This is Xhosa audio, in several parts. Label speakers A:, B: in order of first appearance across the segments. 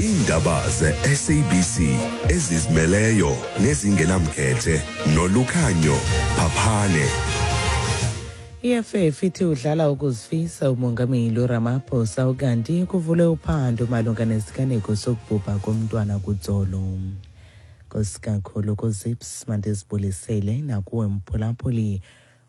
A: Iindaba ze-SABC ezizimeleyo nezingenamkhethe noLukhanyo Phaphane.
B: I-EFF ithi udlala ukuzifisa umongameli uRamaphosa, ukanti kuvulwe uphando malunga nesiganeko sokubhubha komntwana kuTsolo. Nkosi kakhulu kuZips, mandizibulisele nakuwe mphulaphuli.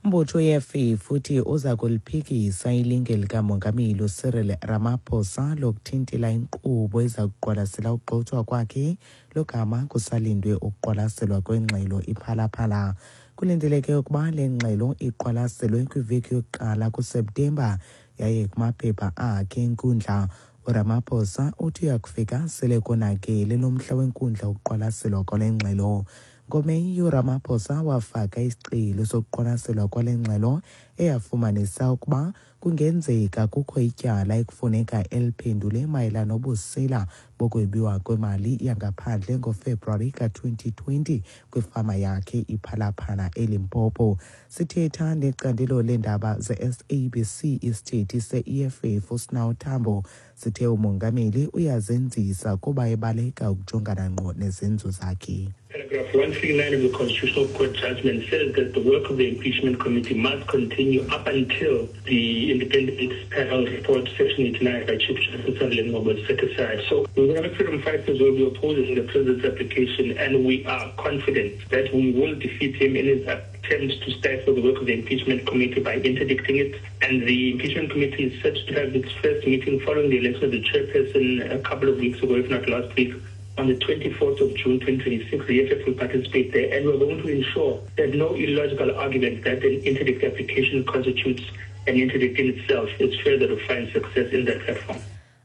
B: Umbutho we-EFF uthi uza kuliphikisa ilinge likamongameli uCyril Ramaphosa lokuthintela inkqubo eza kuqwalasela ukugxothwa kwakhe logama kusalindwe ukuqwalaselwa kwengxelo iPhalaphala. Kulindeleke ukuba le ngxelo iqwalaselwe kwiveki yokuqala kuSeptemba, yaye kumaphepha akhe enkundla uRamaphosa uthi uyakufika sele konakele lo mhla wenkundla wokuqwalaselwa kwale ngxelo. NgoMeyi uRamaphosa wafaka isicelo sokuqwalaselwa kwale ngxelo eyafumanisa ukuba kungenzeka kukho ityala ekufuneka eliphendule mayelana nobusela bokwebiwa kwemali yangaphandle ngoFebruwari ka-2020 kwifama yakhe iPhalaphala eLimpopo. Sithetha necandelo leendaba ze-SABC, isithethi se-EFF uSinawo Tambo sithe umongameli uyazenzisa kuba ebaleka ukujongana ngqo nezenzo zakhe.
C: Paragraph 139 of the Constitutional Court judgment says that the work of the impeachment committee must continue up until the independent panel report, section 89 by Chief Justice Sandile Ngcobo, is set aside. So the Economic Freedom Fighters will be opposing the president's application, and we are confident that we will defeat him in his attempt to stifle the work of the impeachment committee by interdicting it. And the impeachment committee is set to have its first meeting following the election of the chairperson a couple of weeks ago, if not last week. On the 24th of June 2026, the EFF will participate there, and we're going to ensure that no illogical argument that an interdict application constitutes an interdict in itself is further to find success in that platform.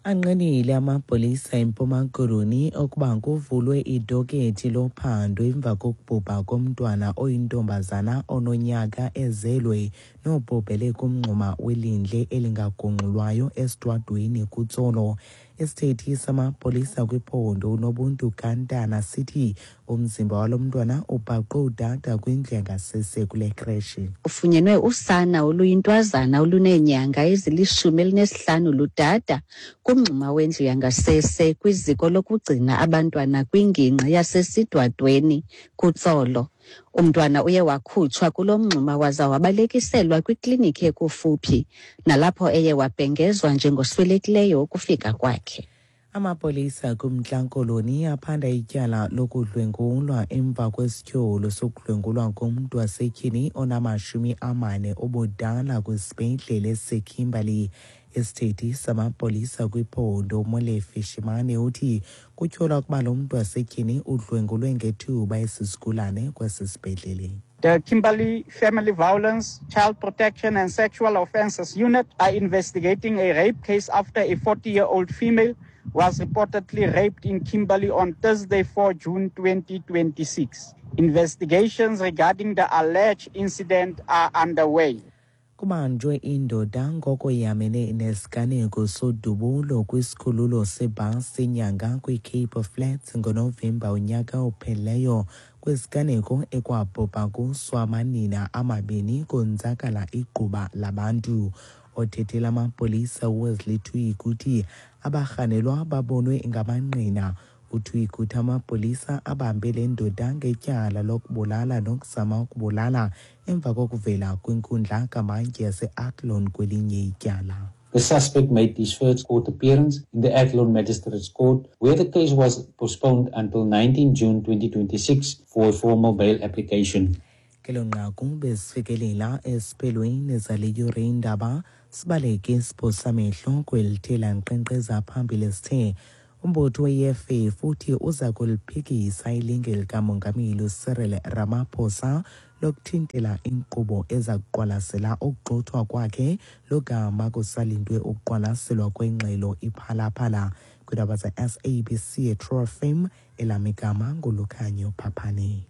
B: Anqinile amapolisa eMpuma Koloni okuba kuvulwe idokethi lophando emva kokubhubha komntwana oyintombazana ononyaka ezelwe nobhubhele kumngxuma welindle elingagungxulwayo eSidwadweni kuTsolo. Isithethi samapolisa kwiphondo uNobuntu Kantana sithi umzimba walo mntwana ubhaqwe udada kwindlu yangasese kule kreshi.
D: Ufunyenwe usana oluyintwazana oluneenyanga ezili-15 ludada kumngxuma wendlu yangasese kwiziko lokugcina abantwana kwingingqi yaseSidwadweni kuTsolo. Umntwana uye wakhutshwa kulo mngxuma waza wabalekiselwa kwikliniki ekufuphi, nalapho eye wabhengezwa njengoswelekileyo ukufika kwakhe.
B: Amapolisa kuMntla Koloni aphanda ityala lokudlwengulwa emva kwesityholo sokudlwengulwa komntu wasetyhini onama-40 obudala kwisibhedlele esiseKimberley. Isithethi samapolisa kwiphondo uMolefi Shimane uthi kutyholwa ukuba lo mntu wasetyhini udlwengulwe ngethuba esisigulane kwesi sibhedlele.
E: The Kimberley Family Violence, Child Protection and Sexual Offences Unit are investigating a rape case after a 40-year-old female was reportedly raped in Kimberley on Thursday, 4 June 2026. Investigations regarding the alleged incident are underway.
B: Kubanjwe indoda ngoko yamene nesiganeko sodubulo kwisikhululo sebhasi iNyanga kwiCape Flats ngoNovemba unyaka ophelileyo, kwisiganeko ekwabhubha kuso amanina amabini konzakala igquba labantu. Othethela amapolisa uWesley Twigg uthi abarhanelwa babonwe ngamangqina. UTwigg uthi amapolisa abambe le ndoda ngetyala lokubulala nokuzama ukubulala emva kokuvela kwinkundla kamantyi yase-Athlone kwelinye ityala.
F: The suspect made his first court appearance in the Athlone Magistrates Court, where the case was postponed until 19 June 2026 for a formal bail application.
B: Kelo nqaku besifikelela esiphelweni zale yure indaba. Sibaleke isiphosamehlo kwelithela nkqenkqeza phambili. Sithe umbutho we-EFF uthi uza kuliphikisa ilinge likamongameli uCyril Ramaphosa lokuthintela inkqubo eza kuqwalasela ukugxothwa kwakhe logama kusalindwe ukuqwalaselwa kwengxelo iPhalaphala. Kwiindaba ze-SABC eTrue FM, elam igama nguLukhanyo Phaphane.